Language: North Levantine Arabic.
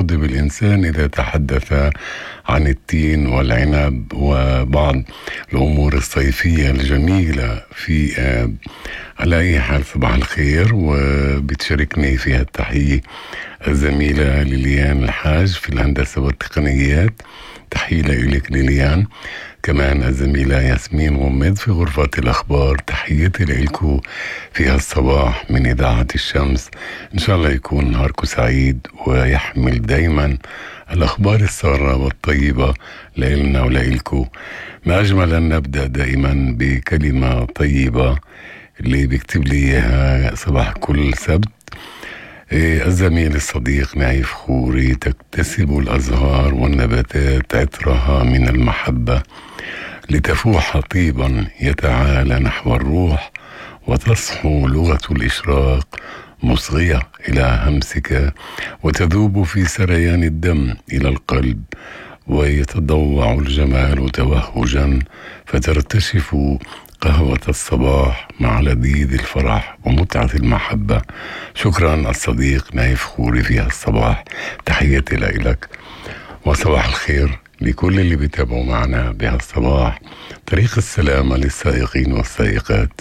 يغضب الإنسان إذا تحدث عن التين والعنب وبعض الأمور الصيفية الجميلة في على أي حال صباح الخير. وبتشاركني فيها التحية الزميلة ليليان الحاج في الهندسة والتقنيات، تحية لك ليليان. كمان الزميلة ياسمين غمد في غرفة الأخبار، تحياتي لكم في هالصباح من إذاعة الشمس. إن شاء الله يكون نهاركم سعيد ويحمل دايما الأخبار السارة والطيبة لإلنا ولإلكم. ما أجمل أن نبدأ دائما بكلمة طيبة اللي بيكتب لي إياها صباح كل سبت الزميل الصديق نايف خوري: تكتسب الأزهار والنباتات عطرها من المحبة لتفوح طيبا يتعالى نحو الروح، وتصحو لغة الإشراق مصغية إلى همسك، وتذوب في سريان الدم إلى القلب، ويتضوع الجمال توهجا، فترتشف قهوة الصباح مع لذيذ الفرح ومتعة المحبة. شكرا الصديق نايف خوري في هالصباح، تحياتي لك وصباح الخير لكل اللي بيتابعوا معنا بهالصباح. طريق السلامة للسائقين والسائقات.